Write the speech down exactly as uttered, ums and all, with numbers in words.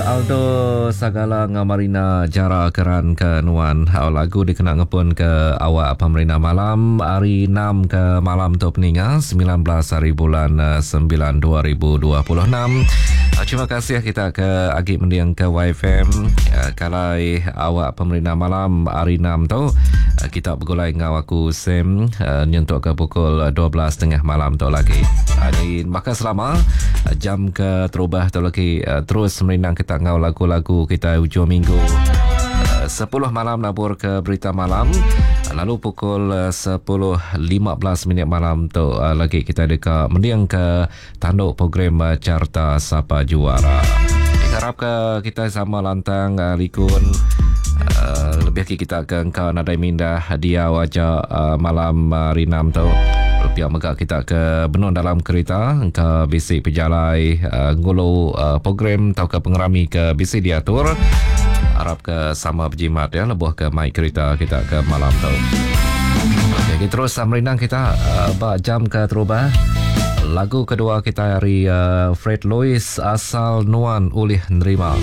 Aldo Sagala enggau Marina Jara keran ke nuan. Hau lagu dikena ngepun ke awak pemerintah malam hari enam ke malam tu peninga sembilan belas hari bulan sembilan dua ribu dua puluh enam. Terima kasih kita ke agi mending ke Y F M. Kalai awak pemerintah malam hari enam tu kita bergulai ngau aku Sam nyentuk ke pukul dua belas tengah malam tu lagi. Jadi maka selama jam ke terubah tu lagi terus merindang kita ngau lagu-lagu kita hujung minggu. Sepuluh malam nabur ke berita malam, lalu pukul sepuluh lima belas minit malam tu lagi kita deka mending ke tanduk program Carta Sapa Juara. Harap ke kita sama lantang likun. Uh, lebih kita ke engkau nadai mindah dia wajah uh, malam hari enam tu. Pihak megak kita ke benung dalam kereta engkau bisi pejalai uh, ngulu uh, program atau ke pengerami ke bisi diatur. Harap ke sama berjimat ya lebuh ke mai kereta kita ke malam tu. Okey, kita terus merindang kita uh, bak jam ke terubah. Lagu kedua kita hari uh, Fred Lewis Asal Nuan Ulih Nerima.